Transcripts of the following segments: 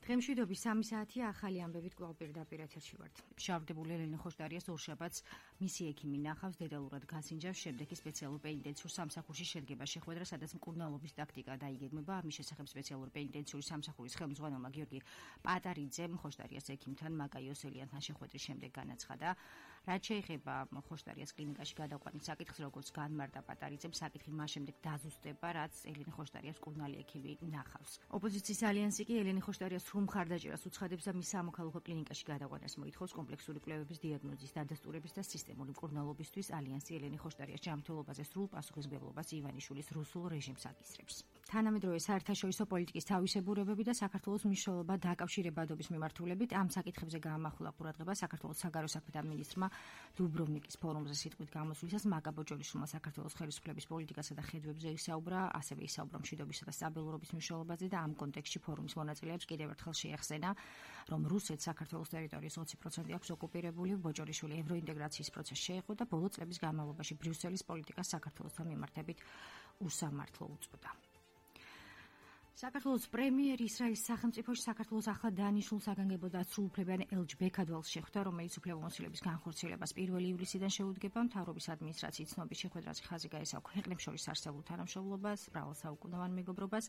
დღემშვიდობის 3 საათია ახალი ამბებით კვლავ პირდაპირ ეთერში ვართ. შავდებული ელენე ხოშტარიას ორშაბათს მისი ექიმი ნახავს, დეტალურად გასინჯავს, შემდეგ კი სპეციალურ პენიტენციურ სამსახურში შედგება შეხვედრა, სადაც მკურნალობის ტაქტიკა დაიგეგმება. ამის შესახებ სპეციალურ პენიტენციური სამსახურის ხელმძღვანელმა გიორგი პატარიძემ ხოშტარიას ექიმთან მაკა იოსელიანთან შეხვედრის შემდეგ განაცხადა, რაც შეეხება ხოშტარიას კლინიკაში გადაყვანის საკითხს, როგორც განმარტა პატარიძემ, საკითხი მას შემდეგ დაზუსტება, რაც ელენე ხოშტარიას მკურნალი ექიმი ნახავს. ოპოზიციის ალიანსი კი ელენე ხოშტარიას მხარდაჭერას უცხადებს და მის სამოქალაქო კლინიკაში გადაყვანას მოითხოვს. კომპლექსური კვლევების დიაგნოზის დადასტურების და სისტემური მკურნალობისთვის ალიანსი ელენე ხოშტარიას ჯანმრთელობაზე სრულ პასუხისმგებლობას ივანიშვილის რუსულ რეჟიმს აკისრებს. თანამედროვე საერთაშორისო პოლიტიკის თავისებურებები და საქართველოს მნიშვნელობა დაკავშირებადობის მიმართულებით ამ საკითხებზე გაამახვილა ყურადღება საქართველოს საგარეო საქმეთა მინისტრმა დუბროვნიკის ფორუმზე სიტყვით გამოსვლისას. მაკა ბოჯოლიშვილმა საქართველოს ხელისუფლების პოლიტიკასა და ხედვებზე ისაუბრა, ასევე ისაუბრა მშვიდობისა და სტაბილურობის მნიშვნელობაზე და ამ კონტექსტში ფორუმის მონაწილეებს კიდევ ერთხელ შეახსენა, რომ რუსეთს საქართველოს ტერიტორიის 20% აქვს ოკუპირებული. ბოჯოლიშვილი ევროინტეგრაციის პროცესში შეეხო და ბოლო წლების განმავლობაში ბრიუსელის პოლიტიკას საქართველოსთან მიმართებით უსამართლო უწოდა. საქართველოს პრემიერი ისრაელის სახელმწიფოში საქართველოს ახლა დანიშნულ საგანგებო და სრულუფლებიან ელჯ ბექადვალს შეხვდა, რომელიც უფლებამოსილების განხორციელებას 1 ივლისიდან შეუდგება. მთავრობის ადმინისტრაციის ცნობის შეხვედრაზე ხაზი გაესვა ქვეყნებს შორის არსებულ თანამშრომლობას, მრავალსაუკუნოვან მეგობრობას.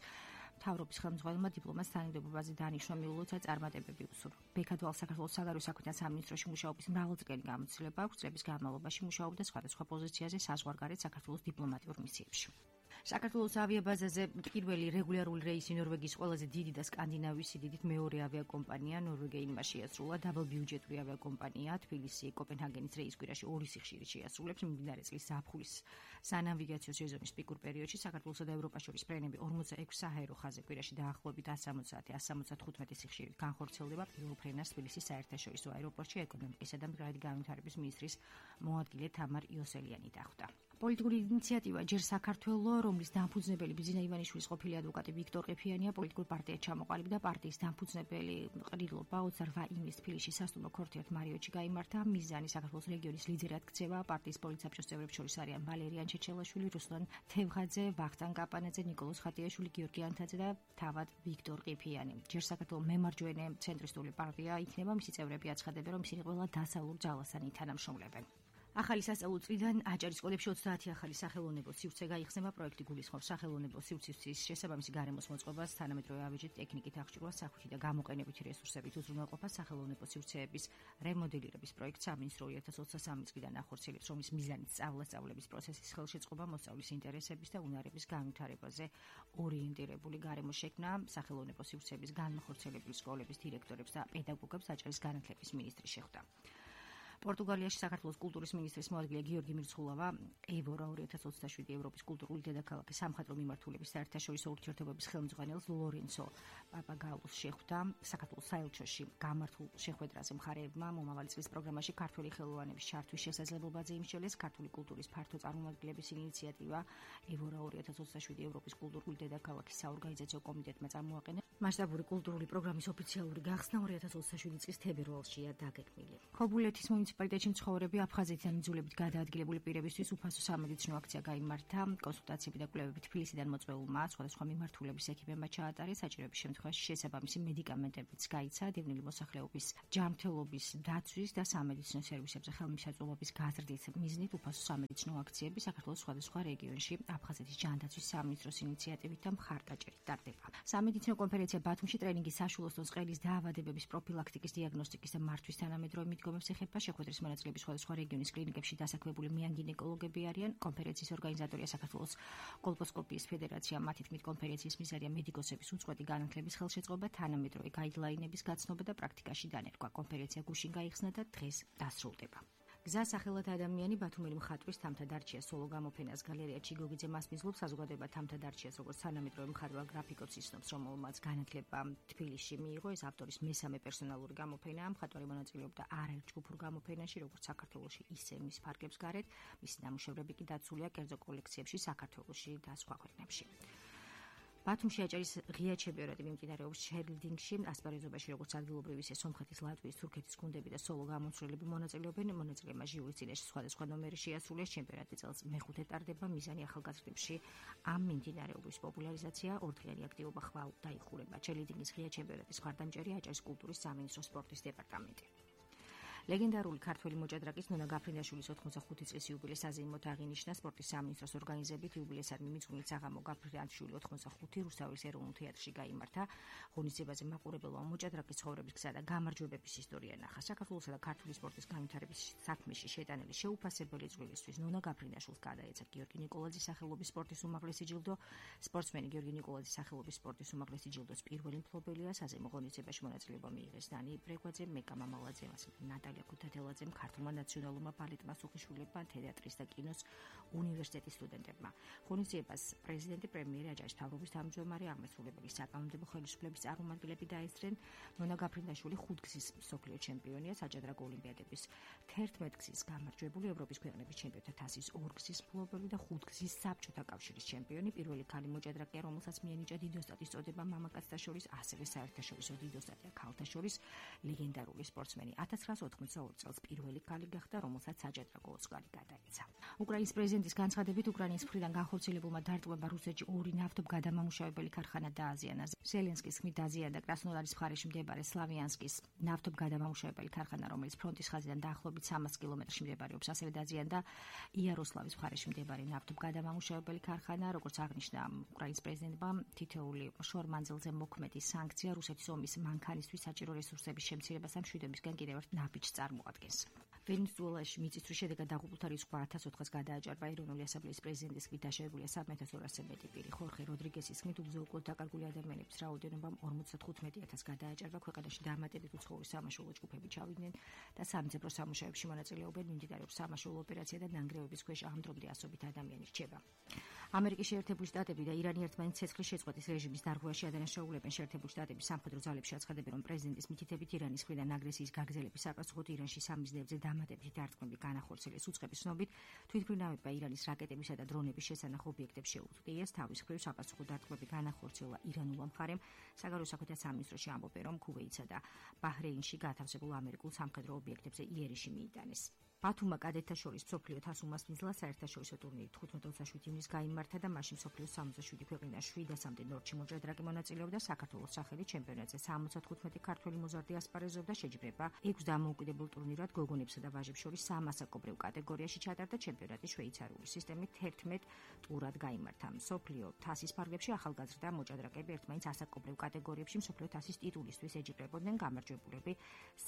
მთავრობის ხელმძღვანელმა დიპლომატს თანამდებობაზე დანიშნა მიულოცა წარმატებები უსურვა. ბექადვალს საქართველოს საგარეო საქმეთა სამინისტროში მუშაობის მრავალწლიანი გამოცდილება აქვს, წლების განმავლობაში მუშაობდა სხვადასხვა პოზიციაზე საზღვარგარეთ საქართველოს დიპლომატიურ მისიებში. საქართველოს ავიაბაზაზე პირველი რეგულარული რეისი ნორვეგიის ყველაზე დიდი და სკანდინავიის სიდიდით მეორე ავიაკომპანია ნორვეგიინმა შეასრულა. დაბალბიუჯეტური ავიაკომპანია თბილისი კოპენჰაგენის რეის კვირაში 2 სიხშირით შეასრულებს. მიმდინარე წლის ზაფხულის სანავიგაციო სეზონის პიკურ პერიოდში საქართველოსა და ევროპას შორის ფრენები 46 საჰაერო ხაზზე კვირაში დაახლოებით 170-175 სიხშირით განხორციელდება. პირველ ფრენას თბილისის საერთაშორისო აეროპორტში ეკონომიკისა და მდგრადი განვითარების მინისტრის მოადგილე თამარ იოსელიანი დახვდა. პოლიტიკური ინიციატივა ჯერ საქართველო, რომლის დამფუძნებელი ბიძინა ივანიშვილის ყოფილი ადვოკატი ვიქტორ ყიფიანია პოლიტიკურ პარტიად ჩამოყალიბდა და პარტიის დამფუძნებელი ყრილობა 28 ივნისს თბილისში სასტუმრო ქორთიათ მარიოტში გაიმართა. მიზანი საქართველოს რეგიონის ლიდერად ქცევა. პარტიის პოლიტსაბჭოს წევრებს შორის არიან ვალერიან ჩეჩელაშვილი, რუსლან თევღაძე, ვახტანგ კაპანაძე, ნიკოლოზ ხატიაშვილი, გიორგი ანთაძე და თავად ვიქტორ ყიფიანი. ჯერ საქართველოს მემარჯვენე ცენტრისტული პარტია იქნება, მისი წევრები აცხადებენ, რომ ისინი ყველა დასავლურ ძალასთან ითანამშრომლებენ. ახალი სასწავლო წლიდან აჭარის სკოლებში 30 ახალი სახელოვნებო სივრცე გაიხსნება. პროექტი გულისხმობს სახელოვნებო სივრცის შესაბამისი გარემოს მოწყობას, თანამედროვე ავეჯით, ტექნიკით აღჭურვას, სახვითი და გამოყენებითი რესურსებით უზრუნველყოფას. სახელოვნებო სივრცეების რემოდელირების პროექტს სამინისტრო 2023 წლიდან ახორციელებს, რომლის მიზანიც სწავლების პროცესის ხელშეწყობა, მოსწავლის ინტერესების და უნარების განვითარებაზე ორიენტირებული გარემოს შექმნა. სახელოვნებო სივრცეების განმახორციელებელი სკოლების დირექტორებს და პედაგოგებს აჭარის განათლების მინისტრი შეხვდა. პორტუგალიაში საქართველოს კულტურის მინისტრის მოადგილე გიორგი მირცხულავა ევორა 2027 ევროპის კულტურული დედაქალაქის სამხატვრო მიმართულების საერთაშორისო ურთიერთობების ხელმძღვანელს ლორენცო პაპაგაულოს შეხვდა. საქართველოს საელჩოში გამართულ შეხვედრაზე მხარეებმა მომავალი წლის პროგრამაში ქართული ხელოვანების ჩართვის შესაძლებლობაზე იმსჯელეს. ქართული კულტურის ფართო წარმომადგენლების ინიციატივა ევორა 2027 ევროპის კულტურული დედაქალაქის საორგანიზაციო კომიტეტმა წარმოაყენა. მასშტაბური კულტურული პროგრამის ოფიციალური გახსნა 2027 წლის თებერვალშია დაგეგმილი. ხობულეთის მუნიციპალიტეტში მცხოვრები აფხაზეთიდან იძულებით გადაადგილებული პირებისთვის უფასო სამედიცინო აქცია გაიმართა. კონსულტაციები და კვლევები თბილისიდან მოწვეულმა სხვადასხვა მიმართულების ექიმებმა ჩაატარეს. საჭიროების შემთხვევაში შესაბამისი მედიკამენტებიც გაიცა. დევნილი მოსახლეობის ჯანმრთელობის დაცვის და სამედიცინო სერვისებზე ხელმისაწვდომობის გაზრდის მიზნით უფასო სამედიცინო აქციები საქართველოს სხვადასხვა რეგიონში აფხაზეთის ჯანდაცვის სამინისტროს ინიციატივით და მხარდაჭერით ტარდება. სამედიცინო კონფერენცია ბათუმში ტრენინგის საშუალო წყლის დაავადებების პროფილაქტიკის, დიაგნოსტიკის და მართვის თანამედროვე მიდგომებს ეხება. შეხვედრის მონაწილეები სხვადასხვა რეგიონის კლინიკებში დასაქმებული მეანგინეკოლოგები არიან. კონფერენციის ორგანიზატორია საქართველოს კოლპოსკოპიის ფედერაცია. მათი თქმით, კონფერენციის მიზანია მედიკოსების უწყვეტი განათლების ხელშეწყობა, თანამედროვე გაიდლაინების გაცნობა და პრაქტიკაში დანერგვა. კონფერენცია გუშინ გაიხსნა და დღეს დასრულდება. გზა სახელად ადამიანი ბათუმელი მხატვრის თამთა დარჩიას სოლო გამოფენას გალერეა ჩიგოგიძე მას მიზლობს. საზოგადოება თამთა დარჩიას როგორც თანამედროვე მხატვარ გრაფიკოს იცნობს, რომელმაც განათლება თბილისში მიიღო. ეს ავტორის მესამე პერსონალური გამოფენაა. მხატვარი მონაწილეობდა არაერთ ჯგუფურ გამოფენაში, როგორც საქართველოში, ისე მის ფარგლებს გარეთ. მისი ნამუშევრები კი დაცულია კერძო კოლექციებში საქართველოში და სხვა ქვეყნებში. ბათუმში აჭარის ღია ჩემპიონატი მიმდინარეობს ჩერლდინგში, ასპარეზობაში როგორც ადგილობრივი ისე სომხეთის, ლატვიის, თურქეთის გუნდები და სოლო გამომცვლელები მონაწილეობენ. მონაწილეებმა ჟიურის წინაშე სხვადასხვა ნომერი შეასრულეს. ჩემპიონატი წელს მეხუთე ტარდება. მიზანი ახალგაზრდებში ამ მიმდინარეობის პოპულარიზაცია, ორდღიანი აქტივობა ხვალ დაიხურება. ჩერლდინგის ღია ჩემპიონატის მხარდამჭერი აჭარის კულტურის სამინისტროს სპორტის დეპარტამენტი. ლეგენდარული ქართველი მოჭადრაკის ნონა გაფრინდაშვილის 85 წლის იუბილეს აზეიმოთ აღინიშნა სპორტის სამინისტროს ორგანიზებით. იუბილესადმი მიძღვნილ საღამო გაფრინდაშვილი 85 რუსთავის ეროვნულ თეატრში გაიმართა. ღონისძიებაზე მაყურებელმა მოჭადრაკის ცხოვრების გზა და გამარჯვებების ისტორია ნახა. საქართველოსა და ქართული სპორტის განვითარების საქმეში შეტანილი შეუფასებელი წვლილისთვის ნონა გაფრინდაშვილს გადაეცა გიორგი ნიკოლაძის სახელობის სპორტის უმაღლესი ჯილდო. სპორტსმენი გიორგი ნიკოლაძის სახელობის სპორტის უმაღლესი ჯილდოს პირველი მფლობელია. საზეიმო ღონისძიებაში მონაწილეობა მიიღეს დანი ბრეგვაძე, მეკა მამალაძე, ნატალია ქუთათელაძემ, ქართულმა ნაციონალურმა ბალეტმა, სუხიშვილებმა, თეატრის და კინოს უნივერსიტეტის სტუდენტებმა. ღონისძიებას პრეზიდენტი, პრემიერი, აჭარის მთავრობის თავმჯდომარე, აღმასრულებელი საკანონმდებლო ხელისუფლების წარმომადგენლები დაესწრნენ. ნონა გაფრინდაშვილი 5 გზის მსოფლიო ჩემპიონია, საჯადრაგო ოლიმპიადების 11 გზის გამარჯვებული, ევროპის ქვეყნების ჩემპიონთა თასის 2 გზის მფლობელი და 5 გზის საბჭოთა კავშირის ჩემპიონი, პირველი ქალი მოჭადრაკეა, რომელსაც მიენიჭა დიდოსტატის წოდება მამაკაცთა შორის, ასევე საერთაშორისო დიდოსტატია ქალთა შორის, ლეგენდარული სპორტსმენი. 1982 წელს პირველი ქალი გახდა, რომელსაც საჯადრაგო ოსკარი გადაეცა. უკრაინის პრეზიდენტის განცხადებით, უკრაინის მხრიდან განხორციელებულმა დარტყმებამ რუსეთში 2 ნავთობგადამამუშავებელი ქარხანა დააზიანა. ზელენსკის ხმით დაზიანდა კრასნოდარის მხარეში მდებარე სლავიანსკის ნავთობგადამამუშავებელი ქარხანა, რომელიც ფრონტის ხაზიდან დაახლოებით 300 კილომეტრში მდებარეობს. ასევე დაზიანდა იაროსლავის მხარეში მდებარე ნავთობგადამამუშავებელი ქარხანა. როგორც აღნიშნა უკრაინის პრეზიდენტმა, თითოეული შორ-მანძილზე მოქმედი სანქცია რუსეთის ომის მანქანისთვის საჭირო რესურსების შემცირებას ამ მშვიდობისგან კიდევ ერთ ნაბიჯს წარმოადგენს. ვენესუელაში მიწისძვრის შედეგად დაღუპულთა რიცხვ 1400-ს გადააჭარბა. ეროვნული ასამბლეის პრეზიდენტის ხმით დაშავებულია 3200-ზე მეტი პირი. ხორხე როდრიგესის ხმით უგზო-უკვლოდ დაკარგული ადამიანების რაოდენობამ 55000 გადააჭარბა. ქვეყანაში დამატებით უცხოური სამაშველო ჯგუფები ჩავიდნენ და სამძებრო სამუშაოებში მონაწილეობენ. მიმდინარეობს სამაშველო ოპერაცია და ნანგრევების ქვეშ ამ დრომდე ასობით ადამიანი რჩება. ამერიკის შეერთებული შტატები და ირანი ერთმანეთს ცეცხლის შეწყვეტის რეჟიმის დარღვევაში ადანაშაულებენ. შეერთებული შტატების სამხედრო ძალებში აცხადებენ, რომ პრეზიდენტის მითითებით ირანის მხრიდან აგრესიის გაგრძელების საპასუხოდ ირანში სამიზნეებზე დამატებითი დარტყმები განახორციელეს. უწყების ცნობით, თვითმფრინავებმა ირანის რაკეტებისა და დრონების შესანახ ობიექტებს შეუწყიეს. თავის მხრივ საპასუხო დარტყმები განახორციელა ირანულმა მხარემ. საგარეო საქმეთა სამინისტროში ამბობენ, რომ ქუვეითსა და ბაჰრეინში გათავსებულ ამერიკულ სამხედრო ობიექტებზე იერიში მიიტანეს. ბათუმმა კადეტთა შორის მსოფლიო თასუმას მიზლა საერთაშორისო ტურნირი 15-27 ივნისს გაიმართა და მასში მსოფლიოს 67 ქვეყნიდან 700-მდე ნორჩი მოჭადრაკე მონაწილეობდა. საქართველოს სახელით ჩემპიონატზე 75 ქართველი მოზარდი ასპარეზობდა. შეჯიბრება 6 დამოუკიდებელ ტურნირად გოგონებსა და ვაჟებს შორის სამასაკობრივ კატეგორიაში ჩატარდა. ჩემპიონატი შვეიცარიული სისტემით 11 ტურად გაიმართა. მსოფლიო თასის ფარგლებში ახალგაზრდა მოჭადრაკეები ერთმანეთს ასაკობრივ კატეგორიებში მსოფლიო თასის ტიტულისთვის ეჯიბრებოდნენ. გამარჯვებულები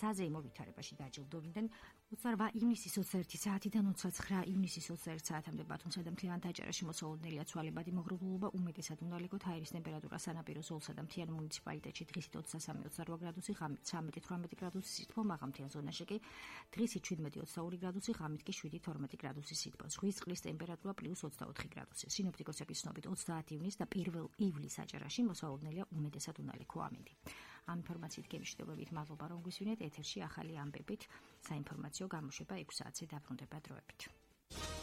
საზეიმო ვითარებაში დაჯილდოვდნენ. 28 ივნისის 21 საათიდან 29 ივნისის 21 საათამდე ბათუმსა და მთლიან აჭარაში მოსალოდნელია ცვალებადი მოღრუბლულობა. უმეტესად უნალიგოთ. აირის ტემპერატურა სანაპირო ზოლსა და მთიან მუნიციპალიტეტში დღისით 23-28 გრადუსი, ღამით 13-18 გრადუსი სითბო, მაღალმთიან ზონაში კი დღისით 17-22 გრადუსი, ღამით კი 7-12 გრადუსი სითბო. ზღვის წყლის ტემპერატურა +24 გრადუსი. სინოპტიკოსების ცნობით 30 ივნისს და 1 ივლისს აჭარაში მოსალოდნელია უმეტესად უნალიქო ამინდი. ამ ინფორმაციით გემშვიდობებით მადლობა, რომ გვისვინეთ. ეთერში ახალი ამბებით საინფორმაციო გამოშვება 6 საათზე დაბრუნდება დროებით.